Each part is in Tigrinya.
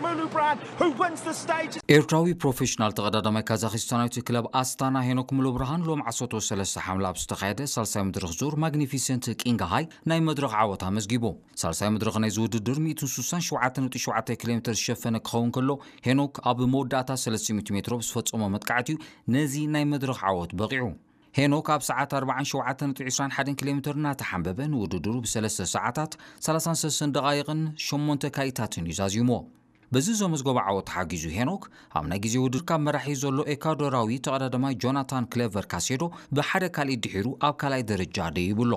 Mulubrand, who wins the stage. ኤርትራዊ ፕሮፌሽናል ተቐዳዳማይ ካዛኺስታናዊት ክለብ ኣስታና ሄኖክ ሙሉብርሃን ሎም ዓሰርተ ሰለስተ ሓምለ ኣብ ዝተኻየደ ሳልሳይ መድረኽ ዙር ማግኒፊሰንት ቂንግሃይ ናይ መድረኽ ዓወት ኣመዝጊቡ። ሳልሳይ መድረኽ ናይዚ ውድድር ሚእትን ስሳን ሸውዓተን ነጥቢ ሸውዓተ ኪሎ ሜትር ዝሸፈነ ክኸውን ከሎ፣ ሄኖክ ኣብ መወዳእታ ሰለስተ ሚእቲ ሜትሮ ብዝፈጸሞ መጥቃዕቲ እዩ ነዚ ናይ መድረኽ ዓወት በቒዑ። ሄኖክ ኣብ ሰዓት ኣርባዓን ሸውዓተን ነጥቢ ዕስራን ሓደን ኪሎ ሜትር እናተሓንበበ ንውድድሩ ብሰለስተ ሰዓታት ሰላሳን ሰለስተን ደቓይቕን ሸሞንተ ካኢታትን እዩ ዛዚምዎ። በዚ ዘመዝገቦ ዓወት ተሓጊዙ ሄኖክ ኣብ ናይ ግዜ ውድድር ካብ መራሒ ዘሎ ኤኳዶራዊ ተቐዳዳማይ ጆናታን ክሌቨር ካሴዶ ብሓደ ካልእ ድሒሩ ኣብ ካልኣይ ደረጃ ደይቡ ኣሎ።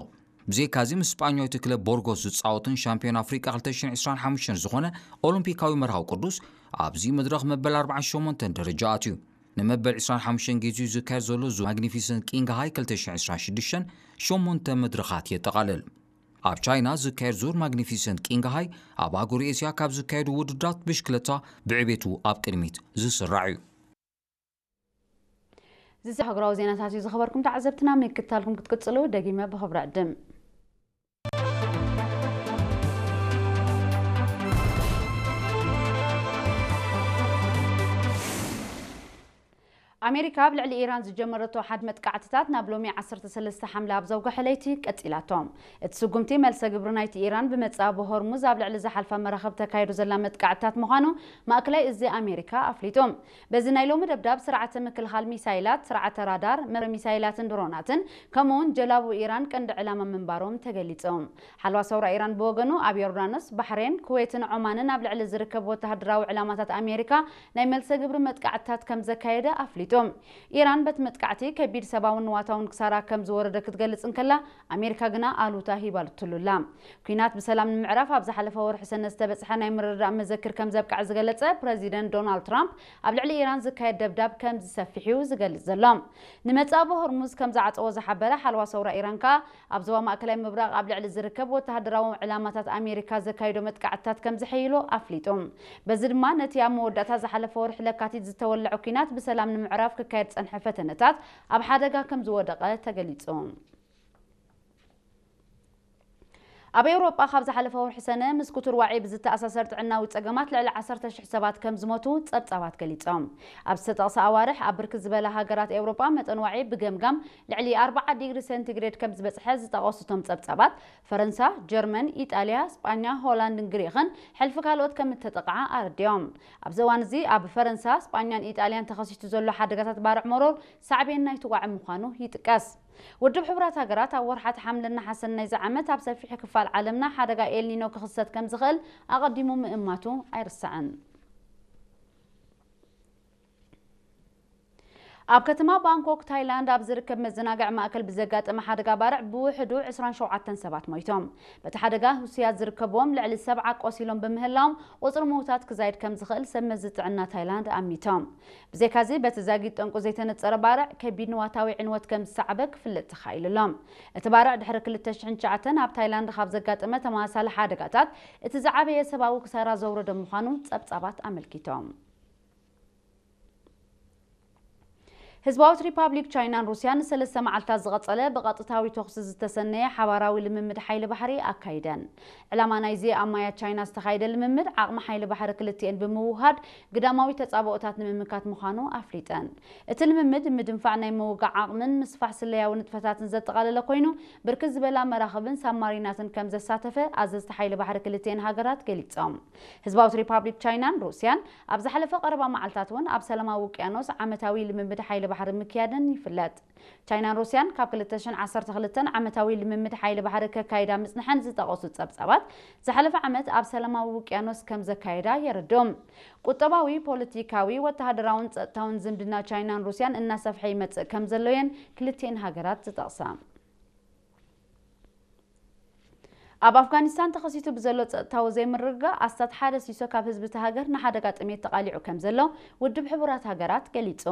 ብዘይካዚ ምስ ስጳኛዊት ክለብ ቦርጎስ ዝጻወትን ሻምፒዮን ኣፍሪቃ ክልተ ሽሕን ዕስራን ሓሙሽተን ዝኾነ ኦሎምፒካዊ መርሃዊ ቅዱስ ኣብዚ መድረኽ መበል ኣርባዓን ሸሞንተን ደረጃ ኣትዩ። ንመበል ዕስራን ሓሙሽተን ግዜኡ ዝካየድ ዘሎ ዙር ማግኒፊሰንት ቂንግሃይ ክልተ ሽሕን ዕስራን ሽዱሽተን ሸሞንተ መድረኻት የጠቓልል። ኣብ ቻይና ዝካየድ ዙር ማግኒፊሰንት ቂንግሃይ ኣብ ኣህጉር ኤስያ ካብ ዝካየዱ ውድድራት ብሽክለታ ብዕቤቱ ኣብ ቅድሚት ዝስራዕ እዩ። እዚ ሃገራዊ ዜናታት እዩ። ዝኸበርኩም ተዓዘብትና ምክትታልኩም ክትቅጽሉ ደጊመ ብኽብሪ ዕድም። ኣሜሪካ ኣብ ልዕሊ ኢራን ዝጀመረቶ ሓድ መጥቃዕትታት ናብ ሎሚ ዓሰርተ ሰለስተ ሓምለ ኣብ ዘውግሐ ለይቲ ቀጺላቶ። እቲ ስጉምቲ መልሰ ግብሪ ናይቲ ኢራን ብመጻኢ ብሆርሙዝ ኣብ ልዕሊ ዝሓልፋ መራኽብ ተካይዶ ዘላ መጥቃዕትታት ምዃኑ ማእከላይ እዚ ኣሜሪካ ኣፍሊጡ። በዚ ናይ ሎሚ ደብዳብ ስርዓተ ምክልኻል ሚሳይላት፣ ስርዓተ ራዳር፣ መረ ሚሳይላትን ድሮናትን ከምኡውን ጀላቡ ኢራን ቀንዲ ዕላማ ምንባሮም ተገሊጹ። ሓልዋ ሰውራ ኢራን ብወገኑ ኣብ ዮርዳኖስ፣ ባሕሬን፣ ኩዌትን ዖማንን ኣብ ልዕሊ ዝርከብ ወተሃደራዊ ዕላማታት ኣሜሪካ ናይ መልሰ ግብሪ መጥቃዕትታት ከም ዘካየደ ኣፍሊጡ። ኢራን በቲ መጥቃዕቲ ከቢድ ሰብኣውን ንዋታውን ክሳራ ከም ዝወረደ ክትገልጽ እንከላ፣ ኣሜሪካ ግና ኣሉታ ሂባትሉላ። ኲናት ብሰላም ንምዕራፍ ኣብ ዝሓለፈ ወርሒ ሰነ ዝተበጽሐ ናይ ምርድዳእ መዘክር ከም ዘብቅዐ ዝገለጸ ፕረዚደንት ዶናልድ ትራምፕ፣ ኣብ ልዕሊ ኢራን ዝካየድ ደብዳብ ከም ዝሰፍሕ እዩ ዝገልጽ ዘሎ። ንመጻኢ ሆርሙዝ ከም ዝዓጸዎ ዝሓበረ ሓልዋ ሰውራ ኢራን ከኣ፣ ኣብ ዞባ ማእከላይ ምብራቕ ኣብ ልዕሊ ዝርከብ ወተሃደራዊ ዕላማታት ኣሜሪካ ዘካይዶ መጥቃዕትታት ከም ዝሕይሎ ኣፍሊጡ። በዚ ድማ ነቲ ኣብ መወዳእታ ዝሓለፈ ወርሒ ለካቲት ዝተወልዐ ኲናት ብሰላም ንምዕራፍ ክካየድ ዝጸንሐ ፈተነታት ኣብ ሓደጋ ከም ዝወደቐ ተገሊጹ። ኣብ ኤውሮጳ ካብ ዝሓለፈ ወርሒ ሰነ ምስ ክቱር ዋዒ ብዝተኣሳሰር ጥዕናዊ ጸገማት ልዕሊ ዓሰርተ ሽሕ ሰባት ከም ዝሞቱ ጸብጻባት ገሊጾም። ኣብ ዝተጠቕሰ ኣዋርሕ ኣብ ብርክት ዝበላ ሃገራት ኤውሮጳ መጠን ዋዒ ብገምጋም ልዕሊ ኣርብዓ ዲግሪ ሴንቲግሬድ ከም ዝበጽሐ ዝጠቐሱ እቶም ጸብጻባት፣ ፈረንሳ፣ ጀርመን፣ ኢጣልያ፣ ስጳኛ፣ ሆላንድን ግሪኽን ሕልፊ ካልኦት ከም እተጠቕዓ ኣረዲኦም። ኣብዚ እዋን እዚ ኣብ ፈረንሳ፣ ስጳኛን ኢጣልያን ተኸሲቱ ዘሎ ሓደጋታት ባርዕ መሮር ሳዕቤን ናይቲ ዋዒ ምዃኑ ይጥቀስ። ውድብ ሕቡራት ሃገራት ኣብ ወርሓት ሓምለን ነሓሰን ናይዚ ዓመት ኣብ ሰፊሕ ክፋል ዓለምና ሓደጋ ኤልኒኖ ክኽሰት ከም ዝኽእል ኣቐዲሙ ምእማቱ ኣይርሳዕን። ኣብ ከተማ ባንኮክ ታይላንድ ኣብ ዝርከብ መዘናግዒ ማእከል ብዘጋጠመ ሓደጋ ባርዕ ብውሕዱ ዕስራን ሸውዓተን ሰባት ሞይቶም። በቲ ሓደጋ ህሱያት ዝርከብዎም ልዕሊ ሰብዓ ቆሲሎም ብምህላዎም ቁጽሪ ምዉታት ክዛይድ ከም ዝኽእል ሰብ መዚ ጥዕና ታይላንድ ኣሚቶም። ብዘይካዚ በቲ ዛጊት ጠንቁ ዘይተነጸረ ባርዕ ከቢድ ንዋታዊ ዕንወት ከም ዝሰዓበ ክፍለጥ ተኻኢሉ ኣሎ። እቲ ባርዕ ድሕሪ ክልተ ሽሕን ትሽዓተን ኣብ ታይላንድ ካብ ዘጋጠመ ተመሳሳሊ ሓደጋታት እቲ ዝዓበየ ሰብኣዊ ክሳራ ዘውረደ ምዃኑ ጸብጻባት ኣመልኪቶም። ህዝባዊት ሪፓብሊክ ቻይናን ሩስያን ንሰለስተ መዓልታት ዝቐጸለ ብቐጥታዊ ተኹሲ ዝተሰነየ ሓባራዊ ልምምድ ሓይሊ ባሕሪ ኣካይደን። ዕላማ ናይዚ ኣብ ማያት ቻይና ዝተኻየደ ልምምድ ዓቕሚ ሓይሊ ባሕሪ ክልቲኤን ብምውህሃድ ግዳማዊ ተጻብኦታት ንምምካት ምዃኑ ኣፍሊጠን። እቲ ልምምድ ምድንፋዕ ናይ ምውጋእ ዓቕምን ምስፋሕ ስለያዊ ንጥፈታትን ዘጠቓለለ ኮይኑ፣ ብርክት ዝበላ መራኽብን ሳብማሪናትን ከም ዘሳተፈ ኣዘዝቲ ሓይሊ ባሕሪ ክልቲኤን ሃገራት ገሊጾም። ህዝባዊት ሪፓብሊክ ቻይናን ሩስያን ኣብ ዝሓለፈ ቀረባ መዓልታት እውን ኣብ ሰላማዊ ውቅያኖስ ዓመታዊ ልምምድ ሓይሊ ባሕሪ ምክያደን ይፍለጥ። ቻይናን ሩስያን ካብ ክልተ ሽሕን ዓሰርተ ክልተን ዓመታዊ ልምምድ ሓይሊ ባሕሪ ከካይዳ ምጽንሐን ዝጠቐሱ ጸብጻባት፣ ዝሓለፈ ዓመት ኣብ ሰላማዊ ውቅያኖስ ከም ዘካየዳ የረድኡ። ቁጠባዊ፣ ፖለቲካዊ፣ ወተሃደራውን ጸጥታውን ዝምድና ቻይናን ሩስያን እናሰፍሐ ይመጽእ ከም ዘሎ እየን ክልቲኤን ሃገራት ዝጠቕሳ። ኣብ ኣፍጋኒስታን ተኸሲቱ ብዘሎ ጸጥታዊ ዘይምርግጋእ ኣስታት ሓደ ሲሶ ካብ ህዝቢ እታ ሃገር ንሓደጋ ጥሜት ተቓሊዑ ከም ዘሎ ውድብ ሕቡራት ሃገራት ገሊጹ።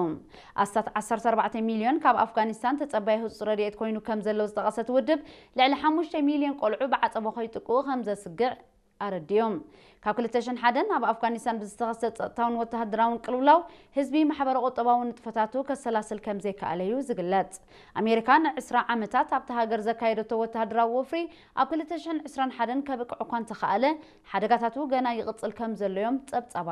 ኣስታት ዓሰርተ ኣርባዕተ ሚልዮን ካብ ኣፍጋኒስታን ተጸባይ ህጹጽ ረድኤት ኮይኑ ከም ዘሎ ዝጠቐሰ እቲ ውድብ፣ ልዕሊ ሓሙሽተ ሚልዮን ቆልዑ ብዓጸቦ ከይጥቅኡ ከም ዘስግእ ኣረዲኡ። ካብ ክልተ ሽሕን ሓደን ኣብ ኣፍጋኒስታን ብዝተኸስተ ጸጥታውን ወተሃደራውን ቅልውላው ህዝቢ ማሕበረ ቁጠባዊ ንጥፈታቱ ከሰላስል ከም ዘይከኣለ እዩ ዝግለጽ። ኣሜሪካ ንዕስራ ዓመታት ኣብታ ሃገር ዘካየደቶ ወተሃደራዊ ወፍሪ ኣብ ክልተ ሽሕን ዕስራን ሓደን ከብቅዕ እኳ እንተኸኣለ፣ ሓደጋታቱ ገና ይቕጽል ከም ዘሎ እዮም ጸብጻባት